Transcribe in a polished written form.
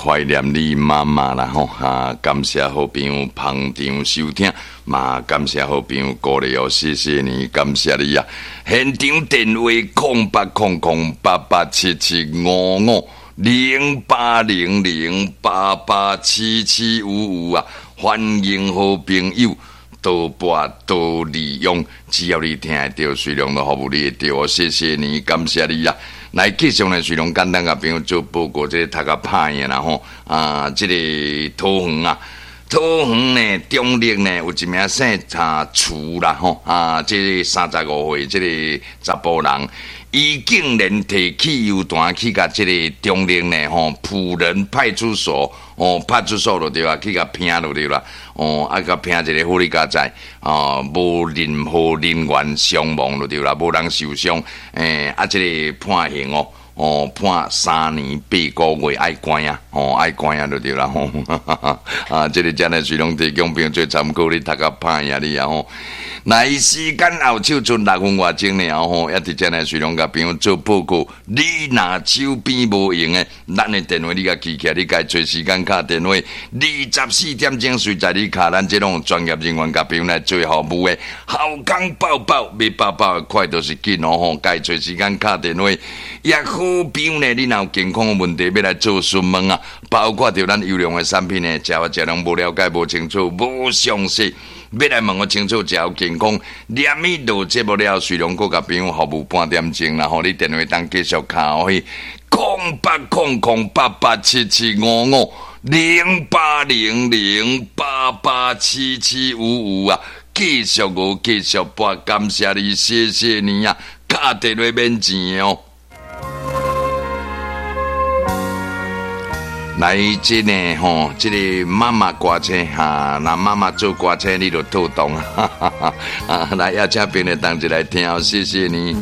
懷念你媽媽啦吼，哈，感謝好朋友捧場收聽，嘛感謝好朋友鼓勵哦，謝謝你，感謝你啊！現場電話08008877550800887755啊，歡迎好朋友多撥多利用，只要你聽會著，隨量都服務你會著哦，謝謝你，感謝你啊！來繼續呢，隨量簡單共朋友做報告，這個讀較歹的啦吼，啊，這個桃園啊，桃園呢，中壢呢，有一名姓查徐啦吼，啊，這個35歲，這個查埔人，伊竟然提汽油彈去共這個中壢呢吼，輔仁派出所哦，派出所就對啊，去共拚就對啦，哦，啊，共拚一個好佳哉，哦，無任何人員傷亡就對啦，無人受傷，啊，這個判刑哦，哦，判3年8個月，愛關啊，哦，愛關啊，就對啦，吼，啊，這個真的是攏提供朋友做參考，你讀較歹啊，你啊吼。來時間後手賰6分外鐘爾吼，也佇遮呢，隨量共朋友做報告。你若手邊無閒的，咱的電話你共記起來，你家揣時間敲電話，24點鐘隨在你敲，咱這攏專業人員共朋友來做服務的，好康報報，欲報報的快就是緊哦吼，家揣時間敲電話。也好朋友呢，你若有健康的問題欲來做詢問啊，包括著咱優良的產品呢，食啊食攏無了解、無清楚、無詳細。欲來問予清楚，食有健康，連伊落節目了，隨量閣共朋友服務半點鐘，然後你電話當繼續敲去08008877550800887755啊，繼續我繼續撥，感謝你，謝謝你啊，敲電話免錢哦。來，這個吼，這個媽媽歌車哈，若媽媽做歌車，你就套動啊！來，邀請朋友同齊來聽，謝謝你。